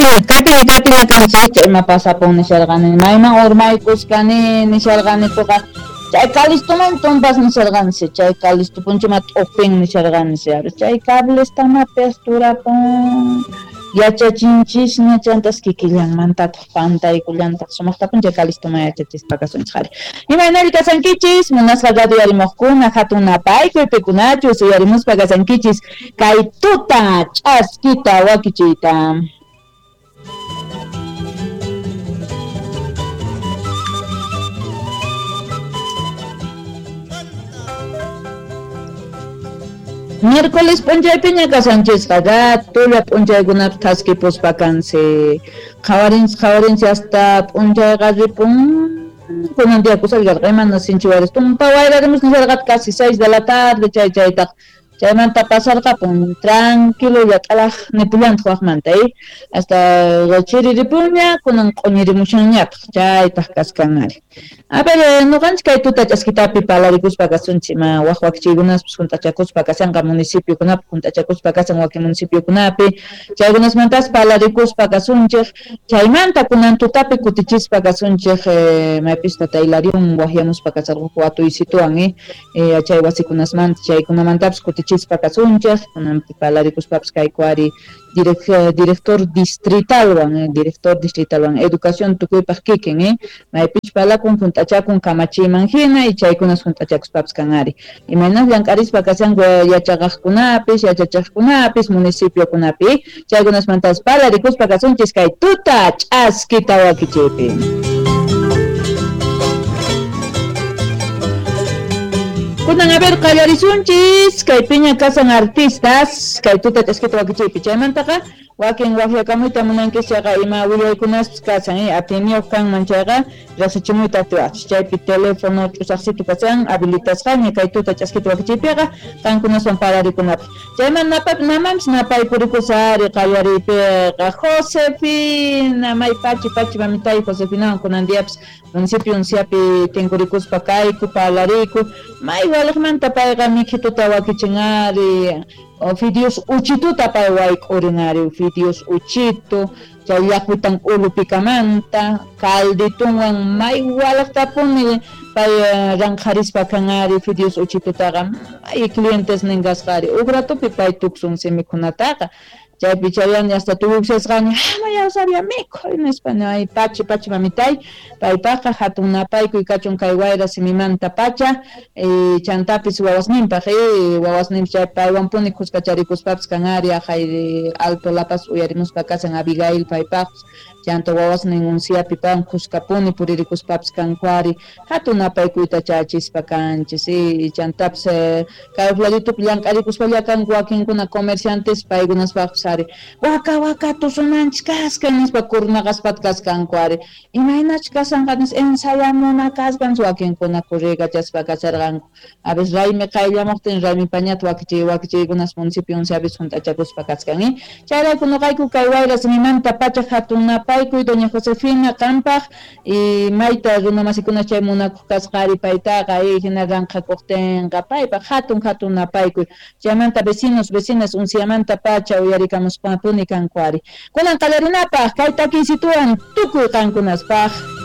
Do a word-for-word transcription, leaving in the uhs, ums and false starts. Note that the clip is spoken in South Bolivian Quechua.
Kaypiña kaypiña kanchik ima pasapun nisharqani mayman urmaykuskani nisharqanikuqa chay Calistuman tumpas nisharqansi chay Calisto punchima t'uqpin nisharqansi chay cablestamapis turapun yachachinchisña chantas kikillanmantataq pantaykullantaq sumaqtapun chay Calistuman yachachispa kasunchik ari imaynalli kasankichis munasqa radio yarimuqkuna hatun napaykuy pikunachus uyarimuspa kasankichis kay tuta ch'askita wakichiyta. Miércoles p'unchaypiña kasanchisqa ratulla p'unchaykunapi thaskipuspa kansi qhawarinchis qhawarinchis hasta p'unchayqa ripun kunan día kusallkarqa imana sinchi waris tumpa wayrarimus nisharqata casi seis de la tarde chay chaytaq chaymanta pasarqapun tranquilolla t'alaq nipullantaq waqmanta eh hasta chiriripunña kunan q'uñirimushanñataq chaytaq kaskan ari. A ver, noqanchik kay tuta ch'askitapi palarikuspa kasunchik ima waq wakichiykunaspis hunt'achakuspa kashanqa municipiokunapi hunt'achakuspa kashan wakin municipiokunapi chaykunasmantas palarikuspa kasunchik chaymanta kunan tutapi kutichispa kasunchik eh, maypis tata Hilarión waqyamuspa kasharqunku watuysituwan eh, eh, chay wasikunasmanta chaykunamantapis kutichispa kasunchik kunanpi palarikuspapis kayku ari direct, director distritalwan eh, director distritalwan educación tukuypaq kikin eh, maypich palakun hunt'achakun kamachiyman hina y chaykunas hunt'achakuspapis kan ari imaynas llank'arispa kashanku yachaqaqkunapis yachachiqkunapis municipiokunapi chaykunasmantas palarikuspa kasunchis kay tuta ch'askita wakichiypi. Kunan a ver qallarisunchis kaypiña kasan artistas kay tuta ch'askita wakichiypi chaymantaqa wakin waqyakamuyta munankis chayqa ima willaykunaspis kasan eh, atiniyuq kanman chayqa riqsichimuyta atiwaqchis chaypi teléfono ch'usaqsitu kasan habilitasqaña kay tuta ch'askita wakichiypiqa qankunaswan pararikunapaq chayman napa namanpis napaykurikusari qallariypiqa Josefina may pachi pachi mamitay Josefinawan kunan diapis municipio unciapi tinkurikuspa kayku palariku may waliqmanta payqa mikhituta wakichin ari fideos uchituta pay wayk'urin ari fideos uchitu chay llaqwitan ulupikamanta calditunwan may waliqtapuni pay ranqharispa kan ari fideos uchitutaqa may clientes nin kasqa ari huk ratupi pay tuksunsi mikhunataqa chaypi chayani hasta tukushasqaña hamaya sabia mikhuy nispa ay pachi pachi mamitay paypaqqa hatun napaykuy kachun kay wayra simimanta pacha eh, chantapis wawasninpaq eh, wawasninpis chay paywanpuni khuskacharikuspapis kan ari aqhay Alto La Paz uyarimuspa kasan Abigail paypaqpis chanta wawasnin unciapi pan khuskapuni puririkuspapis kanku ari hatun napaykuyta chachispa kanchis eh, chantapis eh, kay laditupi llank'arikuspalla kanku wakinkuna comerciantes paykunaspaqpis ari waka waka tusunanchik kaskan nispa kurnaqaspat kaskanku ari imaynachus kasanqa nispa ensayamuna kaskan wakinkuna kurriykachaspa kasharqanku a veces raymi qayllamuqtin raymi pañata wakichiy wakichiykunas municipio unciapis hunt'achakuspa kaskan eh chayrayku nuqayku kay wayra simimanta pacha hatun napaykuy doña Josefina qampaq y mayta runamasikuna chay munakuq kasqa ari paytaqa eh hina ranqhakuqtinqa paypaq hatun hatun napaykuy chaymanta vecinos vecinas unciamanta pacha uyarikamuspapuni kanku ari kunan qallarinapaq kay takiysituwan tukuy qankunaspaq.